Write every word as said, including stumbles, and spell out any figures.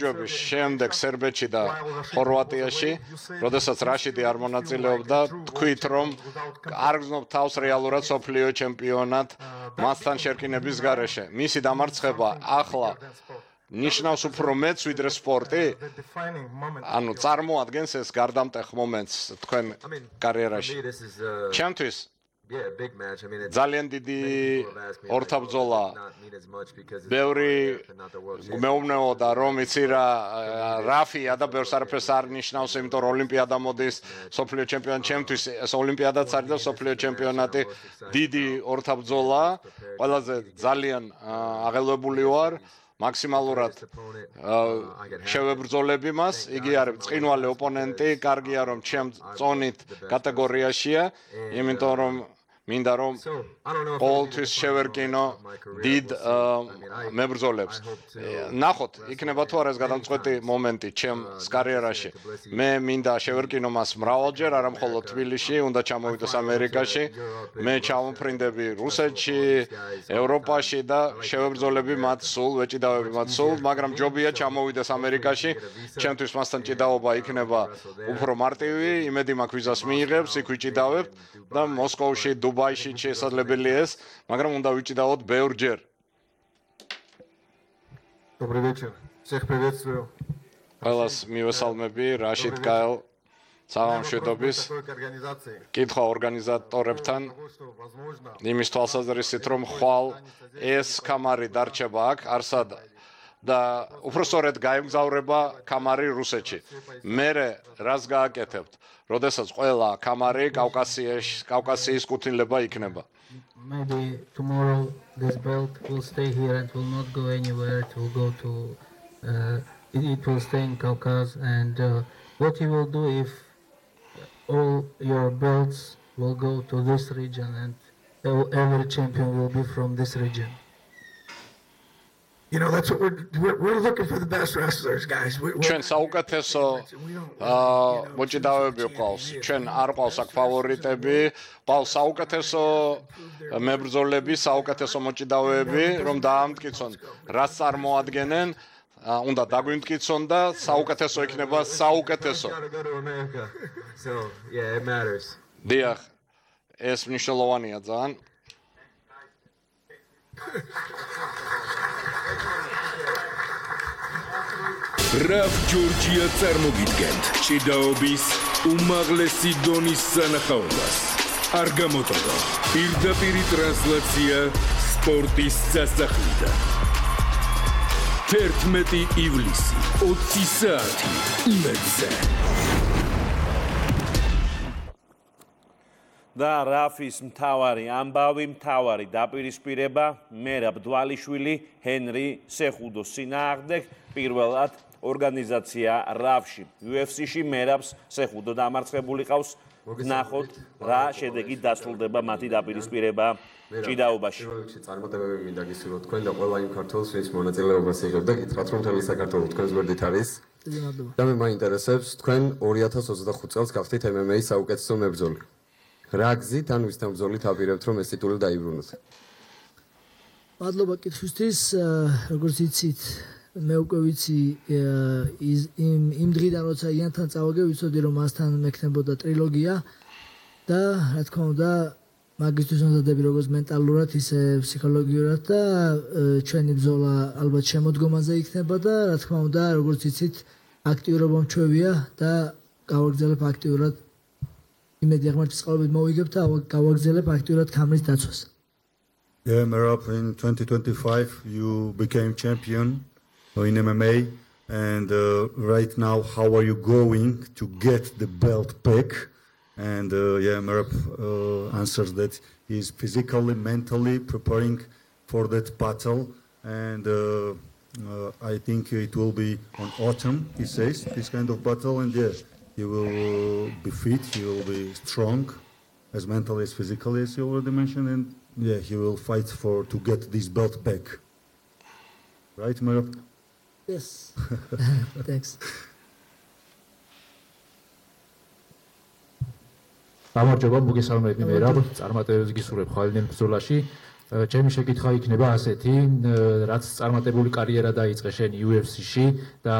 ჯობის შემდეგ სერბეთში და ხორვატიაში, როდესაც რაშიდი არ მონაწილეობდა, თქვით, რომ არ გრძნობ თავს რეალურად სოფლიო ჩემპიონად მასთან შერკინების გარეშე. მისი დამარცხება ახლა ნიშნავს უფრო მეც ვიდრე სპორტი? ანუ წარმოადგენს ეს გარდამტეხ მომენტს თქვენ კარიერაში. ჩემთვის ძალიან დიდი ორთაბრძოლა. ბევრი მეუბნეოდა, რომ იცი რა, რაფია და ბევრს არაფერს არ ნიშნავს, იმიტომ რომ ოლიმპიადა მოდის, სოფლიო ჩემპიონატი. ჩემთვის ეს ოლიმპიადაც არის და სოფლიო ჩემპიონატი დიდი ორთაბრძოლა. ყველაზე ძალიან აღელვებული ვარ. მაქსიმალურად შევებრძოლები მას. იგი არის ბრწყინვალე ოპონენტი, კარგია რომ ჩემ წონით კატეგორიაშია, იმიტომ რომ მინდა რომ ყოველთვის შევერკინო დიდ მებრძოლებს. ნახოთ, იქნება თუ არა ეს გადამწყვეტი მომენტი ჩემს კარიერაში. მე მინდა შევერკინო მას მრავალჯერ, არა მხოლოდ თბილისში, უნდა ჩამოვიდეს ამერიკაში. მე ჩამოფრინდები რუსეთში, ევროპაში და შევებრძოლები მათ სულ, ვეჭიდავები მათ სულ, მაგრამ ჯობია ჩამოვიდეს ამერიკაში. ჩემთვის მასთან ჭიდაობა იქნება უფრო მარტივი, იმედი მაქვს ვიზას მიიღებს, იქ ვიჭიდავებთ და მოსკოვში, დუბაიში შესაძლებელია ეს, მაგრამ უნდა ვიჭიდავოთ ბევრჯერ. Добрый вечер. Всех приветствую. ყველას მივესალმები, რაშიდ კაელ საღამოშვიდობის კითხვა ორგანიზატორებთან. იმის თვალსაზრისით, რომ ხვალ ეს კამარი დარჩება აქ, არსად და უпростоრედ გაემგზავრება კამარი რუსეთში. მერე რას გააკეთებთ? როდესაც ყველა კამარი კავკასიაში, კავკასიის კუთვნილება იქნება. Maybe tomorrow this belt will stay here and will not go anywhere. It will go to uh, it, it will stay in Caucasus, and uh, what you will do if all your belts will go to this region and every champion will be from this region. You know, that's what we're, we're, we're looking for the best wrestlers, guys. ჩვენ საუკეთესო მოჭიდავეები ყავს. ჩვენ არ ყავს აქ ფავორიტები, ყავს საუკეთესო მებრძოლები, საუკეთესო მოჭიდავეები, რომ დაამტკიცონ, რაც წარმოადგენენ, უნდა დაგვიმტკიცონ და საუკეთესო იქნება საუკეთესო. So, yeah, it matters. დიახ, ეს მნიშვნელოვანია ძალიან. Raf Georgia წარმოგიდგენთ ჭიდაობის უმაღლესი დონის სანახაობას. არ გამოტოვო პირდაპირი ტრანსლაცია სპორტის სასახლიდან. თერთმეტი ივლისი, ოცი საათი იმედზე. და რაფის მთავარი ამბავი მთავარი დაპირისპირება მერაბ დვალიშვილი ჰენრი სეხუდოს წინააღმდეგ პირველად ორგანიზაცია რავში იუ ეფ სი-ში მერაბს სეხუდო დამარცხებული ყავს. ნახოთ რა შედეგი დასრულდება მათი დაპირისპირება ჭიდაობაში. წარმატებები მინდა გისურვოთ თქვენ და ყველა იმ ქართველს, ვინც მონაწილეობას იღებს და გითხრათ რომ მთელი საქართველო თქვენს გვერდით არის. და მე მაინტერესებს თქვენ ორი ათას ოცდახუთ წელს გახდით ემ ემ ეის საუკეთესო მებრძოლი. რა გზით ან ვისთან ბრძოლით აპირებთ რომ ეს ტიტული დაიბრუნოთ? მადლობა კითხვისთვის, როგორც იცით, მე უკვე ვიცი იმ იმ დღიდან როცა იანთან წავაგე, ვიცოდი რომ მასთან მექნებოდა ტრილოგია და რა თქმა უნდა მაგისთვის უნდადები როგორც მენტალურად, ისე ფსიქოლოგიურად და ჩვენი ბრძოლა ალბათ შემოდგომაზე იქნება და რა თქმა უნდა, როგორც იცით, აქტიურობა მჩვევია და გავაგრძელებ აქტიურად იმედი აღმართის წყალობით მოვიგებ და გავაგრძელებ აქტიურად კამრის დაცვას. Yeah, Merab, in twenty twenty-five you became champion in M M A, and uh, right now how are you going to get the belt back? And uh, yeah, Merab uh, answers that he's physically, mentally preparing for that battle, and uh, uh, I think it will be on autumn, he says, this kind of battle, and yeah, he will uh, be fit, he will be strong, as mentally as physically, as you already mentioned, and yeah, he will fight for to get this belt back. Right, Merab? Yes. Thanks. გამარჯობა, მოგესალმებით მერაბ, წარმატებებს გისურვებ ხვალინელ ბრძოლაში. ჩემი შეკითხვა იქნება ასეთი, რაც წარმატებული კარიერა დაიწყე შენ იუ ეფ სი-ში და